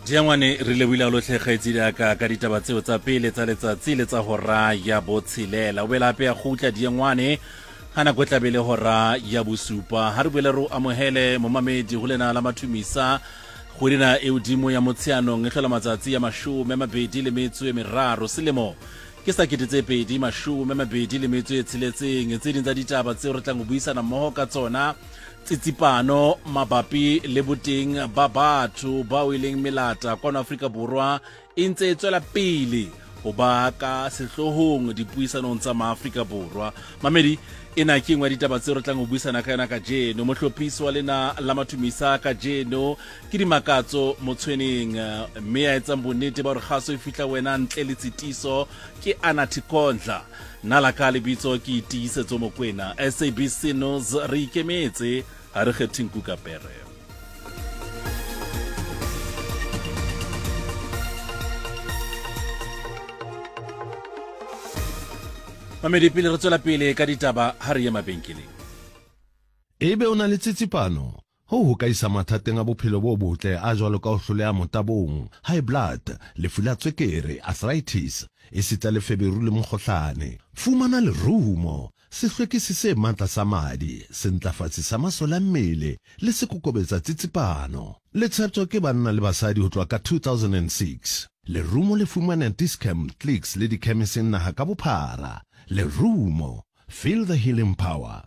Diangwane re lebohile lotlhe kgaitsedi ya ka ka ditaba tseo tsa pele tsa letsatsi le tsa hora ya botshelela. O boela hape ya kgutla Diangwane ga nako e tlabe le hora ya bosupa. Ha re boele re o amohele momamedi ho lena la mathumisa kgwedi na e hodimo ya Motsheanong e hlola matsatsi ya 23 selemo ke sa 2026. Tse ding tsa ditaba tseo re tlang ho buisana mmoho ka tsona tsitsipano mabapi le boteng ba batho bao e leng melata kwano Afrika Borwa e ntse e tswela pele ho ba ka sehloohong dipuisanong tsa Maafrika Borwa. Mamedi, ena ke nngwe ya ditaba tseo re tlang ho buisana ka yona kajeno. Mohlophisi wa lena la Mathumisa kajeno ke Dimakatso Motshweneng, mme ya etsang bonnete ba hore kgaso e fihla wena ntle le tshitiso ke Anathi Kondla. Nna la ka lebitso ke Tiisetso Mokwena. SABC News re ikemetse, ha re kgethe nku ka pere. Mamedi, pele re tswela pele ka ditaba, ha re ye mabenkeleng. Ebe o na le tsitsipano? Hoo ho ka isa mathateng a bophelo bo botle a jwalo ka ho hloleha motabong, high blood, lefu la tswekere, arthritis, esita le feberu le mokgohlane. Fumana lerumo, sehlwekisi se matla sa madi, sentlafatsi sa masole a mmele le sekokobetsa tsitsipano. Le tsheptjwa ke banna le basadi ho tloha ka 2006. Lerumo le fumanea Dis-Chem, Clicks le dikhemising naha ka bophara. Lerumo, feel the healing power.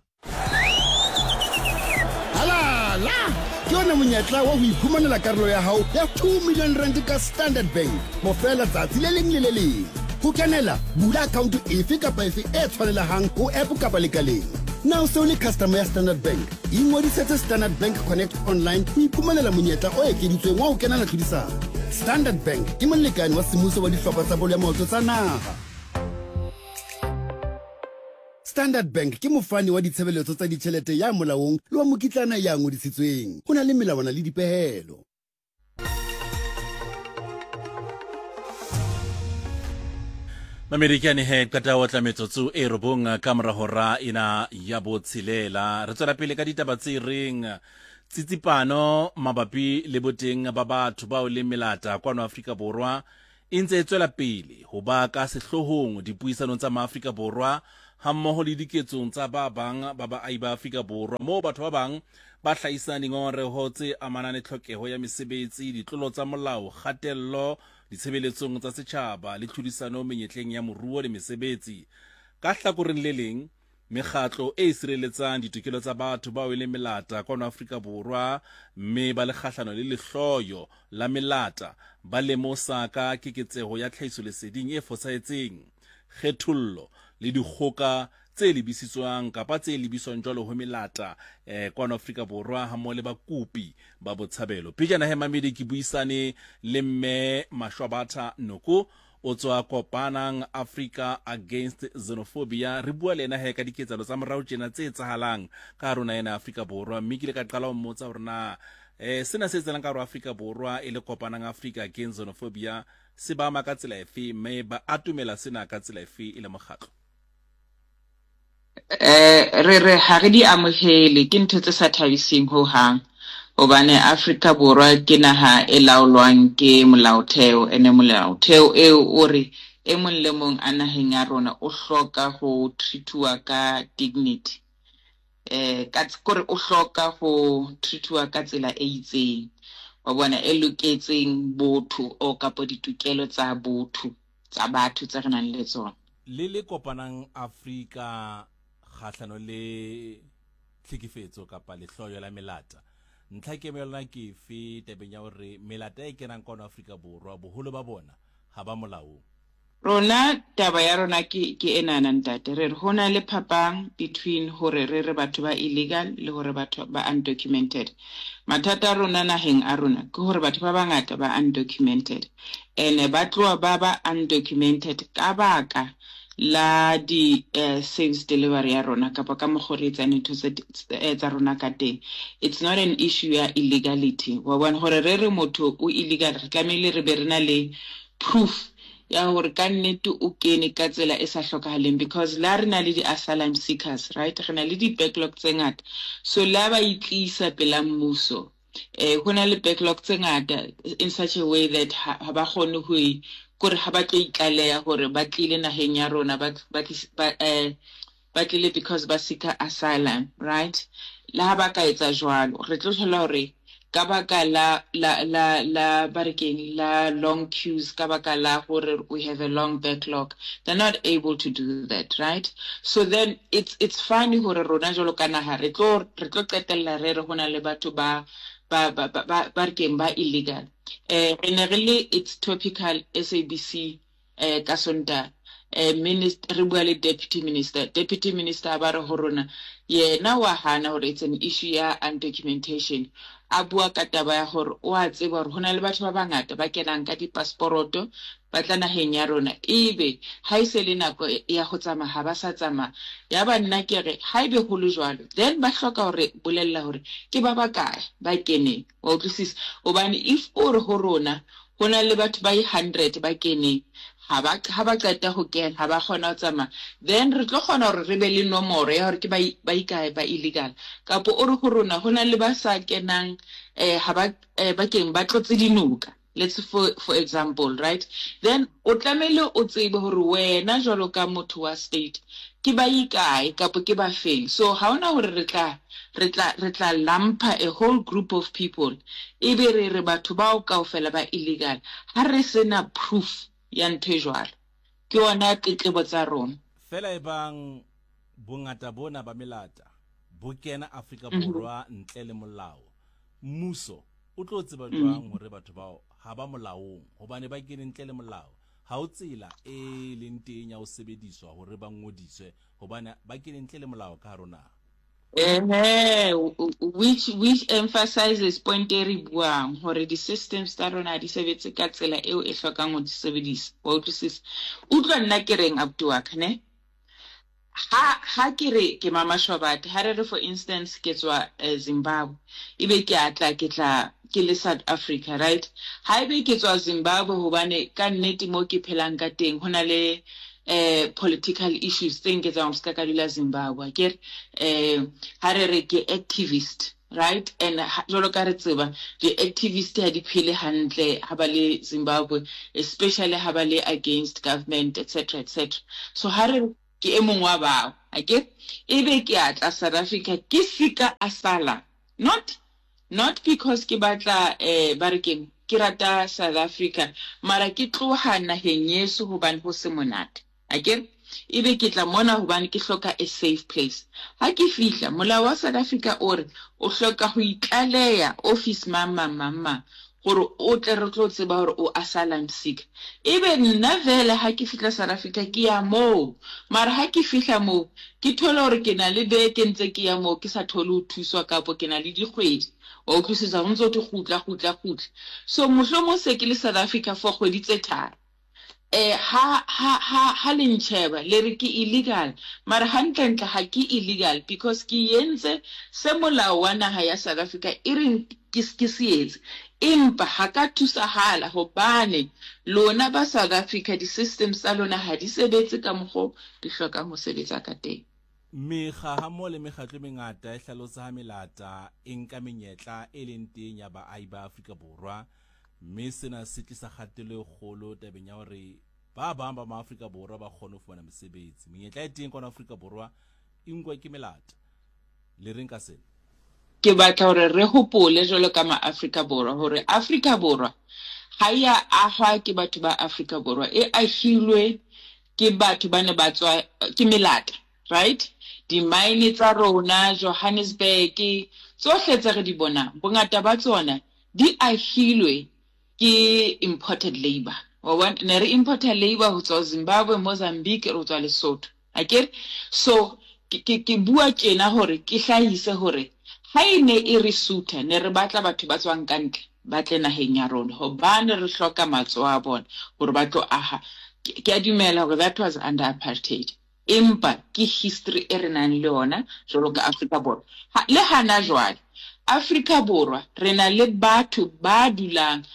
Halala! Ke ona monyetla wa ho iphumanela karolo ya hao ya 2 million rand ka Standard Bank bofela tsatsi le leng le le leng. Ho kenela, bula akhaonto efe kapa efe e tshwanelehang ho app kapa lekaleng. Na o se o le customer ya Standard Bank? Ingodisetse Standard Bank Connect online ho iphumanela monyetla o ekeditsweng wa ho kenela tlhodisano. Standard Bank ke molekane wa semmuso wa dihlopha tsa bolo ya maoto tsa naha. Standard Bank ke mofani wa ditshebeletso tsa ditjhelete ya molaong le wa mokitlana ya ngodisitsweng. Ho na le melawana le dipehelo. Mamedi ke ane he qeta ho tla metsotso e robong ka mora hora ena ya botshelela. Re tswela pele ka ditaba tse reng tsitsipano mabapi le boteng ba batho bao leng melata kwano Afrika Borwa e ntse e tswela pele ho ba ka sehloohong dipuisanong tsa Maafrika Borwa hammoho le diketsong tsa ba bang ba baahi ba Afrika Borwa moo batho ba bang ba hlahisang dingongoreho tse amanang le tlhokeho ya mesebetsi, ditlolo tsa molao, kgatello ditshebeletsong tsa setjhaba le tlhodisano menyetleng ya moruo le mesebetsi. Ka hlakoreng le leng, Mekgatlo e sireletsang ditokelo tsa batho bao e leng melata kwano Afrika Borwa mme ba le kgahlano le lehloyo la melata ba lemosa ka keketseho ya tlhahisoleseding e fosahetseng, kgethollo le dikgoka tse lebisitswang kapa tse lebiswang jwalo ho melata eh, kwano Afrika Borwa hammoho le bakopi ba botshabelo. Pejana he mamedi ke buisane le mme Mashwabatha Noko O tswa Kopanang Africa Against Xenophobia. Re bua le ena he ka diketsahalo tsa morao tjena tse etsahalang ka hare ho naha ena ya Afrika Borwa. Mme ke ile ka qala ho mmotsa hore na eh, sena se etsahalang ka hare ho Afrika Borwa e le Kopanang Africa Against Xenophobia se ba ama ka tsela efe, mme ba atomela sena ka tsela efe e le mokgatlo. Eh, re re ha re di amohele, ke ntho tse sa thabiseng ho hang. Hobane Afrika Borwa ke naha e laolwang ke molaotheo, ene molaotheo eo o re e mong le mong a naheng ya rona o hloka ho treat-uwa ka dignity. Eh, ka kore o hloka ho treat-uwa ka tsela e itseng. Wa bona, e loketseng botho o kapo ditokelo tsa botho tsa batho tse re nang le tsona. Le le kopanang Afrika kgahlano le tlhekefetso kapa lehloyo la melata. Ntlha kemo ya lona ke efe tabeng ya hore melata e kenang kwano Afrika Borwa boholo ba bona ha ba molaong? Rona taba ya rona ke ke enana ntate, re re ho na le phapang between hore re re batho ba illegal le hore batho ba undocumented. Mathata a rona naheng a rona ke hore batho ba bangata ba undocumented. Ene ba tloha ba ba undocumented ka baka la di service delivery ya rona kapa ka mokgo re etsang dintho tsa rona ka teng. It's not an issue ya illegality. Wa bona hore re re motho o illegal re tlamehile re be re na le proof ya hore ka nnete o kene ka tsela e sa hlokahaleng because la re na le di-asylum seekers right re na le di-backlog tse ngata so la ba itlisa pela mmuso. Eh ho na le backlog tse ngata in such a way that ha ha ba kgone ho kore ha ba tlo itlaleha hore ba tlile naheng ya rona ba ba ba eh ba tlile because ba seeker asylum, right? Le ha ba ka etsa jwalo, re tlo thola hore ka baka la la la la ba re keng la long queues, ka baka la hore we have a long backlog, they're not able to do that, right? So then it's it's funny hore rona jwalo ka naha re tlo re tlo qetella re re ho na le batho ba ba ba ba ba re keng ba illegal. Eh re ne re le it's topical SABC eh ka Sontaha eh minister re bua le deputy minister, deputy minister a ba re ho rona yena wa hana hore it's an issue ya undocumentation. A bua ka taba ya hore o a tseba hore ho na le batho ba bangata ba kenang ka dipasporoto ba tla naheng ya rona ebe ha e se le nako ya ho tsamaya ha ba sa tsamaya. Ya ba nna ke re haebe ho le jwalo then ba hloka hore bolella hore ke ba bakae ba keneng. Wa utlwisisa? Hobane if o re ho rona ho na le batho ba i-hundred ba keneng, ha ba ha ba qeta ho kena ha ba kgona ho tsamaya, then re tlo kgona hore re be le nomoro ya hore ke ba ba ikae ba illegal. Kapo o re ho rona ho na le ba sa kenang ha ba ba keng ba tlotse dinoka, let's for for example, right? Then o tlamehile o tsebe hore wena jwalo ka motho wa state ke ba ikae kapo ke ba feng. So ha hona hore re tla re tla re tla lumper a whole group of people ebe re re batho bao kaofela ba illegal ha re se na proof ya ntho e jwalo. Ke yona tletlebo tsa rona. Feela ebang bongata bona ba melata bo kena Afrika Borwa ntle le molao, mmuso o tlo tseba jwang hore batho bao ha ba molaong hobane ba kene ntle le molao? Ha ho tsela e leng teng ya ho sebediswa hore ba ngodiswe hobane ba kene ntle le molao ka hare ho naha. Ehe, which which emphasizes point e re buang hore di-systems tsa rona ha di sebetse ka tsela eo e hlokang ho di sebedisa. Wa utlwisisa? Utlwa nna ke reng abuti wa ka ne? Ha ha ke re ke Mama Shobate, ha re re for instance ke tswa Zimbabwe, ebe ke a tla ke tla ke le South Africa, right? Haebe ke tswa Zimbabwe hobane ka nnete mo ke phelang ka teng ho na le political issues tse nketsang hore ska ka dula Zimbabwe, akere? Ha re re ke activist, right? And jwalo ka re tseba di-activist ha di phele hantle ha ba le Zimbabwe, especially ha ba le against government, etc, etc. So ha re ke e mong wa bao, akere? Ebe ke a tla South Africa ke sika asylum, not not because ke batla ba re keng, ke rata South Africa, mara ke tloha naheng yeso hobane ho se monate. Akere? Ebe ke tla mona hobane ke hloka a safe place. Ha ke fihla, molao wa South Africa o re o hloka ho itlaleha office mang mang mang mang gore o tle re tlo tseba gore o asylum seeker. Ebe nna vele ha ke fihla South Africa ke ya moo, mara ha ke fihla moo ke thole gore ke na le beke ntse ke ya moo ke sa thole ho thuswa kapo ke na le dikgwedi. Wa utlwisisa? Ho ntso thwe kgutla kgutla kgutla. So mohlomong se ke le South Africa for kgwedi tse tharo. Eh, ha, ha, ha, ha le ntjheba, le re ke illegal. Mara hantlentle ha ke illegal because ke entse se molao wa naha ya South Africa e reng ke, ke se etse. Empa ha ka thusahala hobane lona ba South Africa di-systems tsa lona ha di sebetse ka mokgo di hlokang ho sebetsa ka teng. Mekga hammoho le mekgatlo e mengata e hlalosa ha melata e nka menyetla e leng teng ya baahi ba Afrika Borwa mme sena se tlisa kgatello e kgolo tabeng ya hore ba bang ba maAfrika Borwa ba kgone ho fumana mesebetsi. Menyetla e teng kwana Afrika Borwa e nkwa ke melata. Le reng ka sena? Ke batla hore re hopole jwalo ka maAfrika Borwa hore Afrika Borwa ha e a ahwa ke batho ba Afrika Borwa, e ahilwe ke batho ba ne ba tswa ke melata, right? Di-mine tsa rona, Johannesburg, tsohle tse re di bonang, bongata ba tsona di ahilwe ke imported labour. Wa bona? Ne re importer labour ho tswa Zimbabwe, Mozambique, ho tswa Lesotho. Akere? So, ke, ke, ke bua tjena hore ke hlahise hore ha e ne e re sutha, ne re batla batho ba tswang ka ntle ba tle naheng ya rona hobane re hloka matsoho a bona hore ba tlo aha. Ke, ke a dumela hore that was under apartheid. Empa ke history e re nang le yona jwalo ka Afrika Borwa. Ha, le hana jwale, Afrika Borwa re na le batho ba dulang,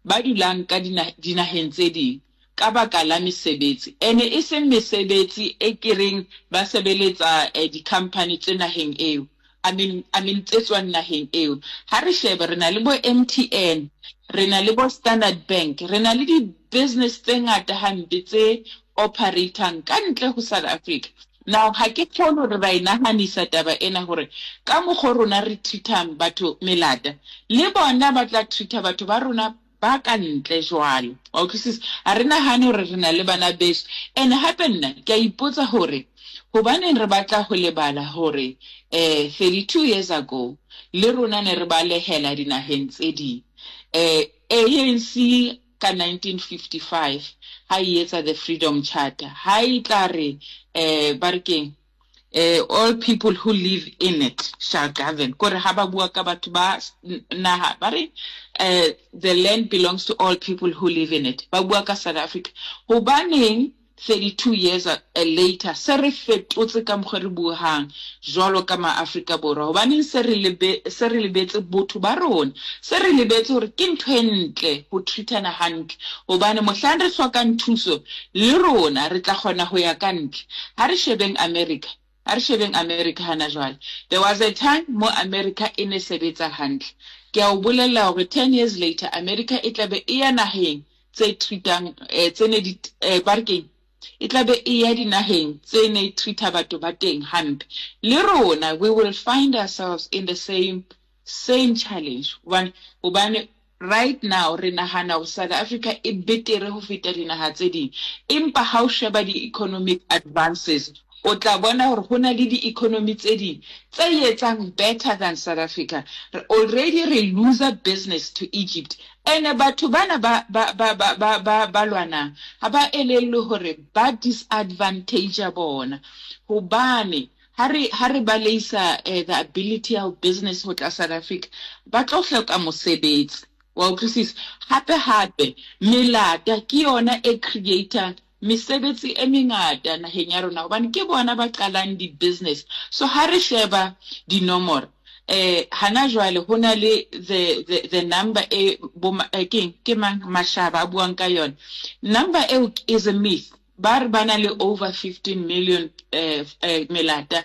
ba dulang ka dina, dinaheng tse ding ka baka la mesebetsi. Ene e seng mesebetsi e ke reng ba sebeletsa di-company tse naheng eo. I mean, I mean tse tswang naheng eo. Ha re shebe re na le bo MTN, re na le bo Standard Bank, re na le di-business tse ngata hampe tse operatang ka ntle ho South Africa. Now ha ke kgolwe hore ra e nahanisa taba ena hore ka mokgo rona re treat-ang batho melata, le bona ba tla treat-a batho ba rona ba ka ntle jwalo. Wa utlwisisa? Ha re nahane hore re na le bana beso. And hape nna ke a ipotsa hore hobaneng re batla ho lebala hore eh 32 years ago le rona ne re balehela dinaheng tse ding. Eh ANC ka 1955 ha e etsa the Freedom Charter ha e tla re eh ba re keng eh, all people who live in it shall govern. Kore ha ba bua ka batho ba naha ba re eh, the land belongs to all people who live in it. Ba bua ka South Africa. Hobaneng 32 years later se re fetotse ka mokgwa re buang jwalo ka maAfrika Borwa? Hobaneng se re lebe, se re lebetse botho ba rona? Se re lebetse hore ke ntho e ntle ho treatana hantle, hobane mohlang re hlokang thuso le rona re tla kgona ho ya ka ntle. Ha re shebeng America. Ha re shebeng America hana jwale. There was a time mo America e ne sebetsa hantle. Ke a o bolella hore 10 years later America e tla be e ya naheng tse treatang tse ne di ba re keng? E tla be e ya dinaheng tse ne treat-a batho ba teng hampe. Le rona we will find ourselves in the same same challenge hobane hobane right now re nahana hore South Africa e betere ho feta dinaha tse ding, empa ha o sheba di-economic advances o tla bona hore ho na le di-economy tse ding tse etsang better than South Africa. Re already re loser business to Egypt ene batho bana ba ba ba ba ba ba ba lwanang ha ba elellwe hore ba disadvantage bona hobane Ha re, ha re baleisa the ability ya ho business ho tla South Africa, ba tlo hloka mosebetsi. Wa utlwisisa? Hape hape, melata ke yona e create-ang mesebetsi e mengata naheng ya rona hobane ke bona ba qalang di-business. So ha re sheba dinomoro, hana jwale ho na le the, the, the number e bo, keng, ke mang, Mashaba a buang ka yona. Number eo is a myth. Ba re ba na le over 15 million melata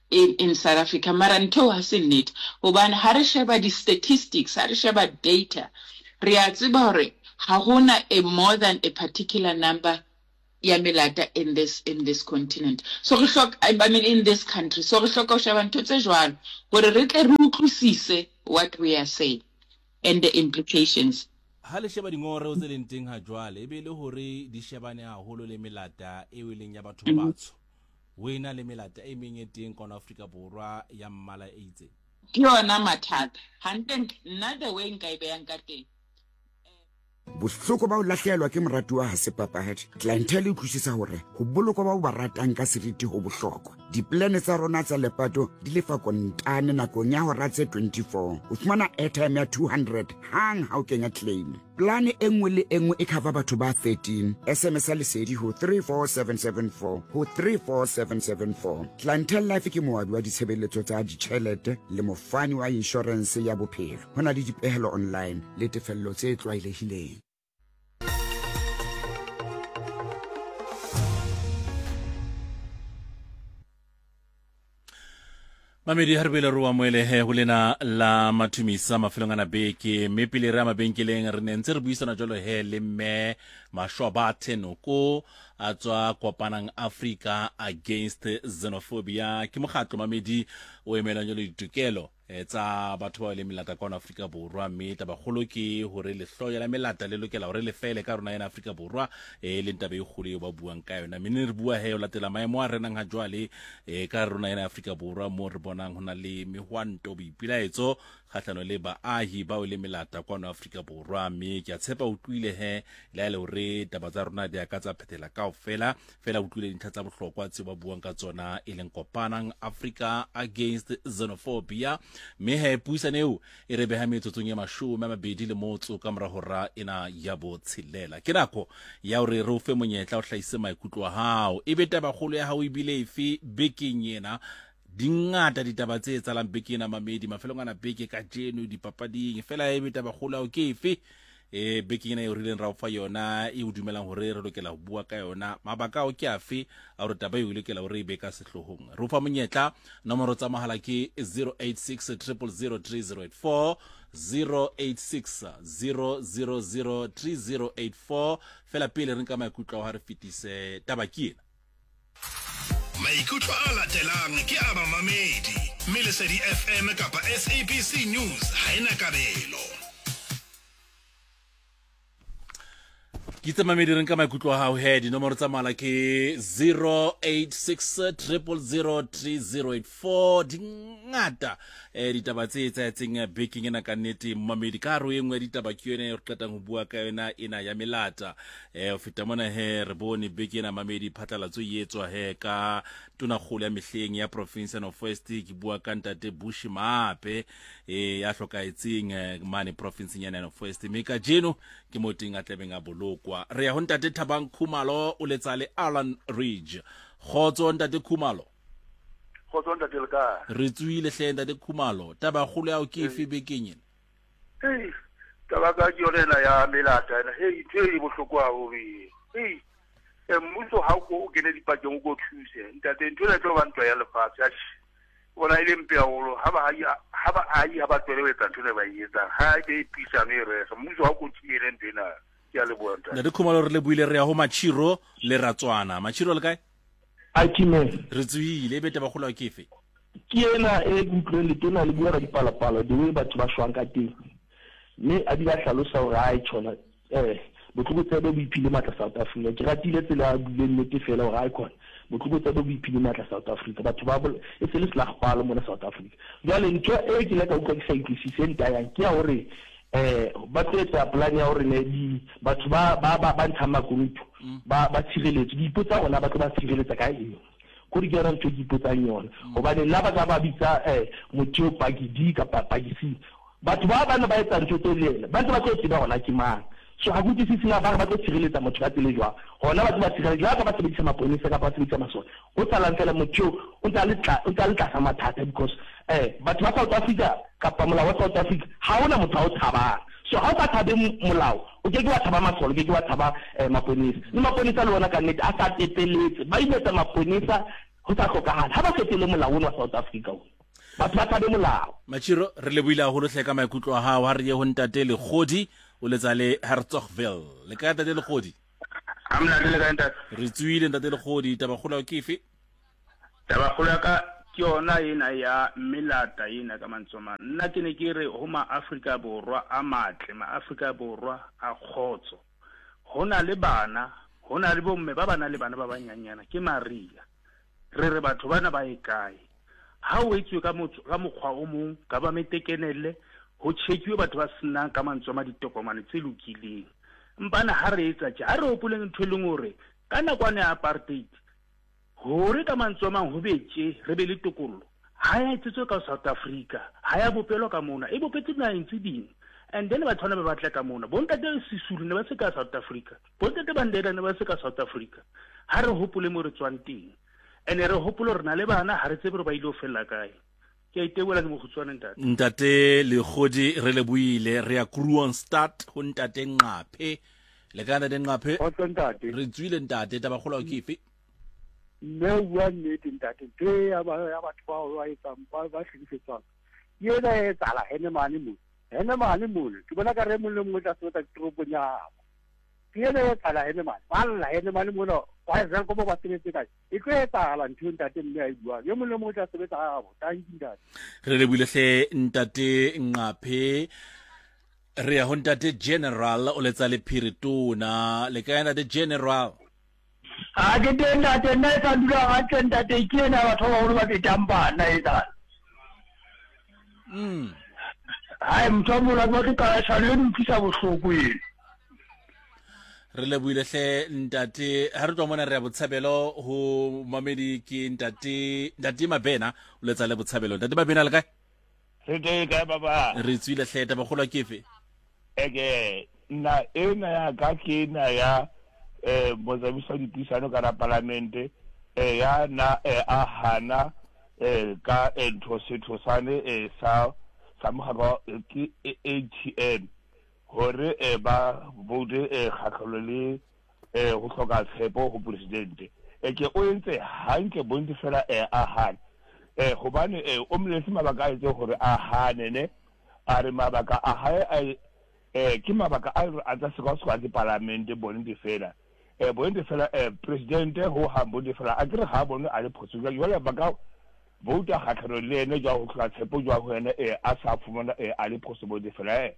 in, in South Africa, mara ntho eo ha se nnete. Hobane ha re sheba di-statistics, ha re sheba data, re a tseba hore ha hona a more than a particular number ya melata in this, in this continent. So re hloka, I mean in this country. So re hloka ho sheba ntho tse jwalo hore re tle re utlwisise what we are saying and the implications. Ha le sheba dingongoreo tse leng teng ha jwale, e be e le hore di shebane haholo le melata eo e leng ya batho ba batsho, ho ena le melata e meng e teng kwano Afrika Borwa ya mmala e itseng. Ke yona mathata. Hantlentle, nna the way nka e behang ka teng, Bohloko ba ho lahlehelwa ke moratuwa ha se papadi. Clientele e utlwisisa hore ho bolokwa ba o ba ratang ka seriti ho bohlokwa. Dipolane tsa rona tsa lepato di lefa kontane nakong ya hora tse 24. O fumana airtime ya 200 hang ha o kenya claim. Polane e nngwe le e nngwe e cover batho ba 13. SMS ya lesedi ho 34774 ho 34774. Clientele Life ke moabi wa ditshebeletso tsa ditjhelete le mofani wa inshorense ya bophelo. Ho na le dipehelo online le tefello tse tlwaelehileng. Mamedi ha re boele re o amohelehe ho lena la mathumisa mafelong ana beke, mme pele re ya mabenkeleng re ne ntse re buisana jalo he le mme Mashwabathe Noko a tswa Kopanang Africa Against Xenophobia. Ke mokgatlo mamedi o emelang jalo ditokelo Eh, tsa batho ba leng melata kwano Afrika Borwa, mme tabakgolo ke hore lehloyo la melata le lokela hore le fele ka rona ena Afrika Borwa, e leng taba e kgolo eo ba buang ka yona. Mme ne re bua he o latela maemo a renang ha jwale e ka rona ena Afrika Borwa, mo re bonang ho na le mehwanto boipilaetso kgahlano le baahi bao le melata kwano Afrika Borwa. Mme ke a tshepa utlwile he le ha e le hore taba tsa rona di a ka tsa phethela kaofela, fela utlwile dintlha tsa bohlokwa tseo ba buang ka tsona e leng Kopanang Africa Against Xenophobia. Mme he puisano eo e re beha metsotsong e 22 le motso ka mora hora ena ya botshelela. Ke nako ya hore re o fe monyetla o hlahise maikutlo a hao, ebe tabakgolo ya hao ebile efe bekeng ena? Di ngata ditaba tse etsahalang beke ena mamedi, mafelong ana beke kajeno dipapading, fela ebe tabakgolo ya hao ke efe? e bekeng ena e rileng ra o fa yona e o dumelang hore re lokela ho bua ka yona. Mabaka ao ke afe a hore taba eo e lokela hore e be ka sehloohong? Re o fa monyetla, nomoro tsa mohala ke 086 000 3084, 086 000 3084. Fela pele re nka maikutlo ao ha re fetise taba ke ena. Maikutlo a latelang ke a bamamedi, mme Lesedi FM kapa SABC News ha e na kabelo. Ke tse mamedi re nka maikutlo a hao he dinomoro tsa mala ke 086 000 3084. Di ngata eh ditaba tse etsahetseng eh, bekeng ena ka nnete mamedi ka hare ho e nngwe ya ditaba ke yone e re qetang ho bua ka yona ena ya melata. Eh ho feta mona he re bone beke ena mamedi phatlalatso e etswa he ka tonakgolo ya mehleng ya province ya North West, ke bua ka ntate Bushi Maape eh ya hlokahetseng eh, mane provinseng ya North West, mme kajeno ke mo teng a tlabeng a bolokwa. Re ya ho ntate Thabang Khumalo o letsa le Alan Ridge. Kgotso ntate Khumalo. Kgotso ntate le kae? Re tsohile hle ntate Khumalo. Taba kgolo ya hao ke efe bekeng ena? Hei, taba ka ke yone ena ya melata ena. Hei, ntho e bohloko haholo e. Hei, e mmuso ha o ko o kene dipakeng o ko thuse. Ntate, ntho ena e tlo ba ntwa ya lefatshe. Atjhe, bona e le mpe haholo. Ha ba ha ba ahi ha ba tlohele ho etsa ntho ena ba e etsang. Ha e be e puisano e rege. Mmuso ha o ko thibele ntho ena. Ke a leboha ntate. Ntate Khumalo re lebohile, re ya ho Machiro le Ratswana. Machiro le kae? Akime. Re tsohile, ebe taba kgolo ke efe? Ke ena e ke utlwileng letona le bua ka dipalopalo the way batho ba shwang ka teng, mme a bile a hlalosa hore ae tjhona eh botlokotsebe bo iphile matla South Africa. Ke ratile tsela a buileng nnete fela hore ae khona botlokotsebe bo iphile matla South Africa, batho ba e se le selagpalo mona South Africa. Jwale ntho e ke ile ka utlwa ke sa utlwisise e ntayang ke ya hore eh ba tlo etsa plan ya hore ne di batho ba ba ba ntshang makunutu ba ba tshireletswe. Ke ipotsa hore na ba tlo ba tshireletsa ka eng. Kore ke yona ntho e ke ipotsang yona. Hobane nna ba ka ba bitsa eh motho eo paki D kapa paki C. Batho ba ba ne ba etsa ntho tseo le yena, ba ntse ba tlo tseba hore na ke mang. So ha ke utlwisise na ba re ba tlo tshireletsa motho ka tsela e jwang. Hona ba tlo ba tshireletsa jwang ka ba sebedisa maponesa kapa ba sebedisa masole. Ho salang fela motho eo o ntse a le tla, o ntse a le tlasa mathata because eh batho ba South Africa kapa molao wa South Africa ha hona motho a o tshabang. So ha o sa tshabe molao, o ke ke wa tshaba masole, o ke ke wa tshaba eh maponesa. Le maponesa le ona ka nnete a sa tepeletse, ba imetsa maponesa ho sa hlokahale. Ha ba fetole molao ono wa South Africa ona. Batho ba tshabe molao. Machiro, re lebohile haholo hle ka maikutlo a hao. Ha re ye ho ntate Lekgodi, o letsa le Hertzogville. Le kae ntate Lekgodi? Ha monate le kae ntate? Re tsohile ntate Lekgodi, tabakgolo ya ke efe? Tabakgolo ya ka ke yona ena ya melata ena ka mantswe a mang. Nna ke ne ke re ho maAfrika Borwa a matle, maAfrika Borwa a kgotso. Ho na le bana, ho na le bomme ba ba nang le bana ba banyanyana, ke Maria. Re re batho bana ba ye kae? Ha o etsuwe ka motso, ka mokgwa o mong, government e kenelle, ho chekiwe batho ba senang ka mantswe a ma ditokomane tse lokileng. Mpana ha re etsa tje, ha re hopoleng ntho e leng hore ka nakwane ya apartheid, hore ka mantswe a mang ho be tje, re be le tokollo, ha ya etsetswe ka South Africa, ha ya bopelwa ka mona, e bopetswe dinaheng tse ding. And then batho bana ba batla ka mona. Bontate Sisulu ne ba se ka South Africa. Bontate Mandela ne ba se ka South Africa. Ha re hopole mo re tswang teng. Ene re hopole hore na le bana ha re tsebe hore ba ile ho fella kae. Ke a itebola ke mokgutshwane ntate. Ntate Lekgodi re lebohile. Re ya Kroonstad ho ntate Nqaphe. Le kae ntate Nqaphe? Kgotso ntate. Re tswile ntate, taba kgolo ke efe? Mme o bua nnete ntate, ntho e ya batho bao ba etsang ba ba hlekefetswang ke ena e etsahala hene mane mona. Hene mane mona. Ke bona ka re mong le mong o tla sebetsa toropong ya habo. Ke ena e etsahala hene mane. Ba lla hene mane mona. Ba Welkom ba sebetse kae? E tlo etsahala ntho eo ntate mme a e buang. E mong le mong o tla sebetsa habo. Tanki ntate. Re lebohile hle ntate Nqaphe. Re ya ho ntate General o letsa le Phiritona. Le kae ntate General? Ha ke teng ntate, nna e sa dula hantle ntate, ke ena batho ba baholo ba betang bana e tsana. Hai motho wa mola ba tlo qala shano e utlwisa bohloko eno. Re lebohile hle ntate. Ha re tloha mona re ya Botshabelo ho mamedi ke ntate ntate Mabena o letsa le Botshabelo. Ntate Mabena le kae? Re teng kae baba? Re tswile hle, taba kgolo ke efe? Eke nna ena ya ka ke ena ya eh motsamaisi wa dipuisano ka la palamente eh ya na eh a hana eh ka eh, ntho setho sane eh sa sa mokgatlo ke ATM. hore eh, ba vote eh, kgahlano le eh, ho hloka tshepo ho presidente. Eh, ke o entse hantle bonte fela eh, a hane eh, hobane eh, o moletse mabaka a etse hore a hane ne a re mabaka a hae a eh, ke mabaka a a tla sekwasekwa ke palamente bonte fela eh, bonte fela eh, presidente ho hang bonte fela a kere ga a bone a le phoso jwale ba ka vouta kgatlhanong le ene jwa go tlhoka tshepo jwa go ene eh, a sa fumana eh, a le phoso bonte fela eh.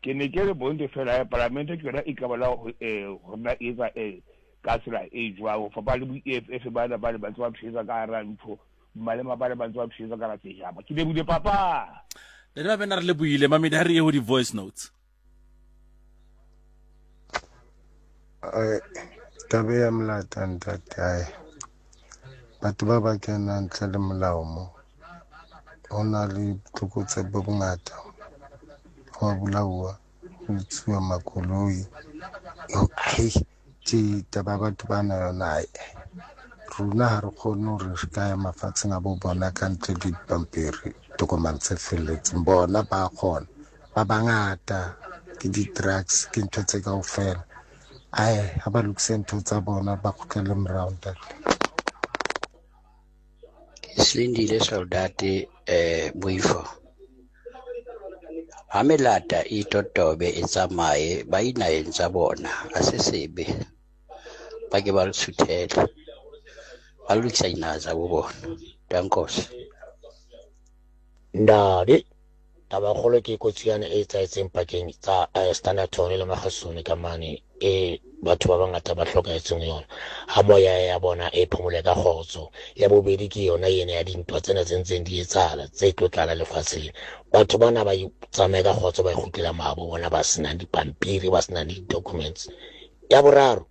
Ke ne ke re bonte fela eh, palamente ke yona e ka bona go eh, go nna e etsa eh, ka tsela e jwang go fapana le bo EFF bana ba ne ba ntse ba pshetsa ka hara ntho malema ba ne ba ntse ba pshetsa ka hara sejaba. Ke lebohile papa. Ntate Mabena re lebohile mamedi ha re ye ho di-voice notes. Ai, taba ya molata ntate ai batho ba ba kenang ntle le molao mo ho na le botlokotsebe bo bongata ho a bolauwa ho utsuwa makoloi ai tje taba ya batho ba na yona ai rona ha re kgone hore re ka ya mafatsheng a bo bona ka ntle le dipampiri tokomane tse felletseng bona ba kgona ba bangata ke di-drugs ke ntho tse kaofela ae ha ba lokise ntho tsa bona ba kgutlele morao ntate. Silindile Soldati eh Moifo ha melata e totobe e tsamaye ba inaheng tsa bona a se sebe ba ke ba suthele ba lokisa dinaha tsa bo bona dankos. Ndadi Tabakgolo ke kotsi yane e etsahetseng pakeng tsa eh, Standerton le Magasone ka mane e batho ba bangata ba hlokahetseng yona. Ha moya ya bona e phomole ka kgotso. Ya bobedi ke yona ena ya dintwa tsena tse ntseng di etsahala tse tlo tlala lefatsheng. Batho bana ba tsamaye ka kgotso ba ikgutlela mahabo bona ba senang dipampiri ba senang di-documents. Ya boraro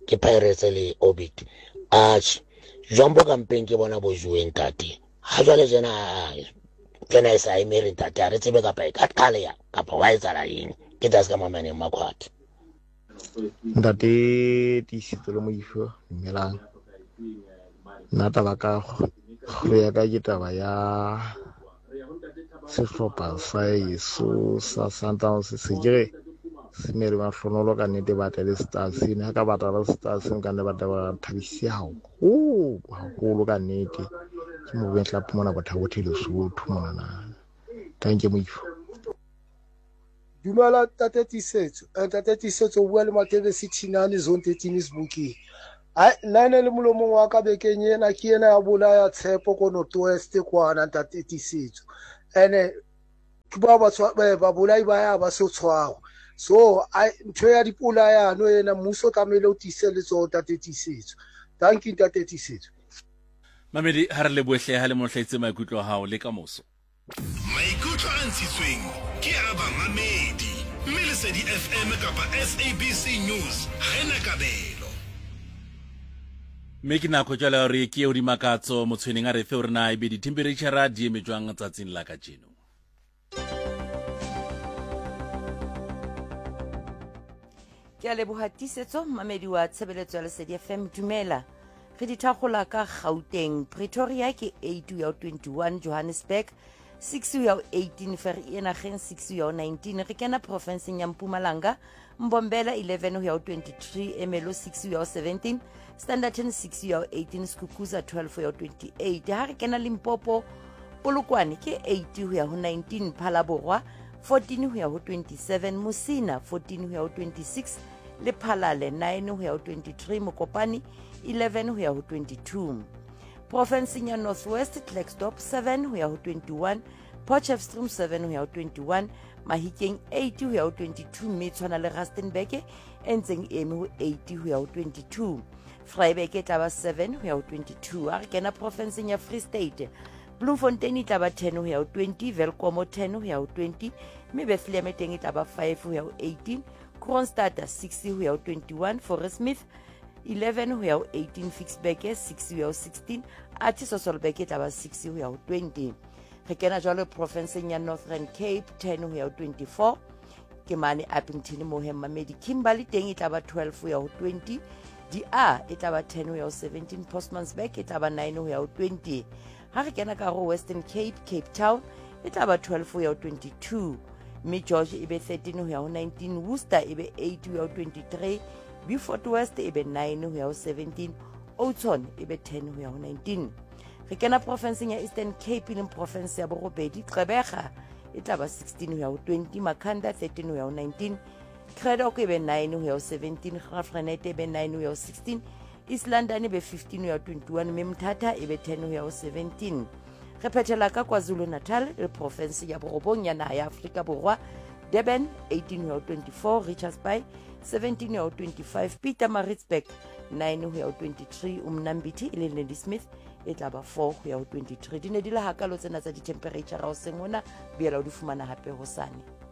ke Pirates le Orbit. Atjhe, jwang bo kampeng ke bona bo joweng ntate. Ha jwale jena tsena e sa emere ntate ha re tsebe kapa e ka qaleya kapa wa etsahala eng ke tsa se ka mameneng makhwathe. Ntate Tiisetso le Moifo dumelang. Nna taba ka kgolo ya ka ke taba ya sehlopha sa heso sa Sundowns se ke re se mere mahlonolo ka nnete ba tle le Stars ene ha ka batla le Stars ka nne ba tla ba thabise haholo haholo ka nnete ke mo tla phumana bothabothe Lesotho monana thank you Moifo. Dumela Ntate Tiisetso. Eh, Ntate Tiisetso o bua le Matebesi Thinane Zone 13 Sebokeng. Ai nna ene le molomong wa ka bekeng ena ke ena ya bolaya tshepo ko North West kwana Ntate Tiisetso. Ene ke ba ba eh, babolai ba ya ba so tshwarwa. So ai ntho ya dipolayano ena mmuso o tlamehile o tiise letsoho Ntate Tiisetso. Thank you Ntate Tiisetso. Mamedi ha re lebohle ha le mo hlaitse maikutlo a hao le ka moso. Maikutlo a ntshitsweng ke a bamamedi, mme Lesedi FM kapa SABC News ha e na kabelo. Mme ke nako jwale ya hore ke eo dimakatso motshweneng a re fe hore na ebe dithempereitjhara di eme jwang tsatsing la kajeno. Ke a leboha tiisetso mmamedi wa tshebeletso ya Lesedi FM dumela re di thakgola ka Gauteng Pretoria ke 8 ho ya ho 21 Johannesburg 6 ho ya ho 18 Vereeniging 6 ho ya ho 19 re kena profenseng ya Mpumalanga Mbombela 11 ho ya ho 23 Emelo 6 ho ya ho 17 Standerton 6 ho ya ho 18 Skukuza 12 ho ya ho 28 ha re kena Limpopo Polokwane ke 8 ho ya ho 19 Phalaborwa 14 ho ya ho 27 Musina 14 ho ya ho 26 le Phalale 9 ho ya ho 23 Mokopane 11 ho ya ho 22 Profenseng ya North West Klerksdorp 7 ho ya ho 21 Potchefstroom 7 ho ya ho 21 Mahikeng 8 ho ya ho 22 mme tshwana le Rustenburg e ntseng e eme ho 8 ho ya ho 22 Vryburg e tla ba 7 ho ya ho 22 ha re kena profenseng ya Free State Bloemfontein e tla ba 10 ho ya ho 20 Welkom 10 ho ya ho 20 mme Bethlehem e teng e tla ba 5 ho ya ho 18 Kroonstad 6 ho ya ho 21 Fauresmith 11 ho ya ho 18 Ficksburg 6 ho ya ho 16 athe Sasolburg e tla ba 6 ho ya ho 20 re kena jwalo profenseng ya Northern Cape 10 ho ya ho 24 ke mane Upington mo he mmamedi Kimberley teng e tla ba 12 ho ya ho 20 di-a e tla ba 10 ho ya ho 17 Postmansburg e tla ba 9 ho ya ho 20 ha re kena ka ho Western Cape Cape Town e tla ba 12 ho ya ho 22 mme George e be 13 ho ya ho 19, Worcester e be 8 ho ya ho 23, Beaufort West e be 9 ho ya ho 17, Oudtshoorn e be 10 ho ya ho 19. Re kena porofenseng ya Eastern Cape e leng porofense ya borobedi, Gqeberha e tla ba 16 ho ya ho 20, Makhanda 13 ho ya ho 19, Cradock e be 9 ho ya ho 17, Graaff-Reinet e be 9 ho ya ho 16, East London e be 15 ho ya ho 21, mme Mthatha e be 10 ho ya ho 17. Re phethela ka KwaZulu-Natal le porofense ya borobong ya naha ya Afrika Borwa, Durban 18 ho ya ho 24, Richards Bay 17 ho ya ho 25, Pietermaritzburg 9 ho ya ho 23, Umnambithi e leng Ladysmith e tla ba 4 ho ya ho 23. Di ne di le hakalo tsena tsa dithemphereitjhara hoseng hona, boela o di fumana hape hosane.